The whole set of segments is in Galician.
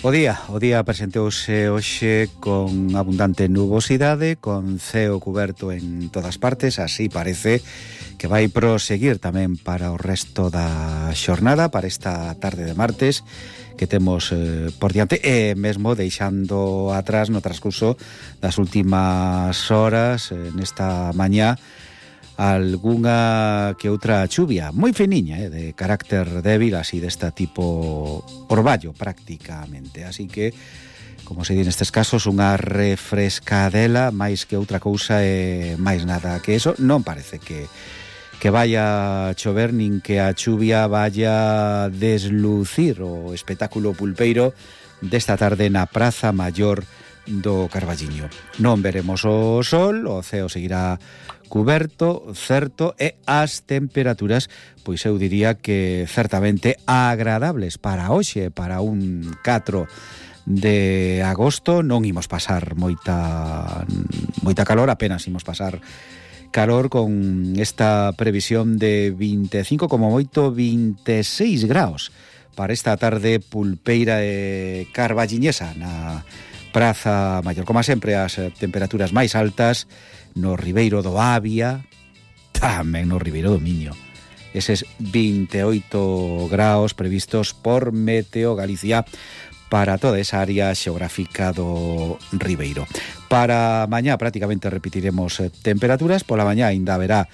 O día presentouse hoxe con abundante nubosidade, con ceo cuberto en todas partes, así parece que vai proseguir tamén para o resto da xornada, para esta tarde de martes que temos por diante, e mesmo deixando atrás no transcurso das últimas horas, nesta mañá, algunha que outra chuvia moi finiña, de carácter débil, así desta tipo orballo prácticamente, así que como se di nestes casos, unha refrescadela máis que outra cousa e máis nada que eso. Non parece que vaya a chover nin que a chuvia vaya deslucir o espectáculo pulpeiro desta tarde na Praza Maior do Carballiño. Non veremos o sol, o ceo seguirá cuberto, certo, e as temperaturas, pois eu diría que certamente agradables para hoxe, para un 4 de agosto. Non imos pasar moita calor, apenas imos pasar calor con esta previsión de 25, como moito 26 graus para esta tarde pulpeira e carballiñesa na Praza Maior. Como sempre, as temperaturas máis altas no Ribeiro do Avia, tamén no Ribeiro do Miño. Eses 28 graus previstos por Meteo Galicia para toda esa área xeográfica do Ribeiro. Para mañá prácticamente repetiremos temperaturas. Pola mañá ainda haberá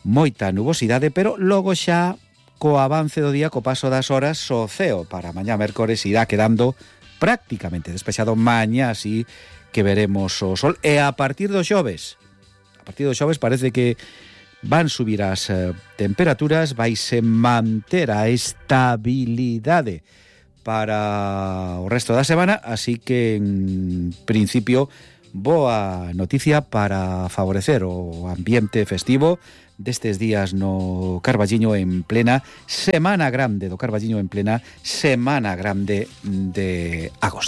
moita nubosidade, pero logo xa co avance do día, co paso das horas, o ceo para mañá mércores irá quedando prácticamente despexado. Mañá sí que veremos o sol, e a partir do xoves parece que van subir as temperaturas, vaise manter a estabilidade para o resto da semana, así que en principio boa noticia para favorecer o ambiente festivo destes días no Carballiño, en plena Semana Grande do Carballiño, en plena Semana Grande de agosto.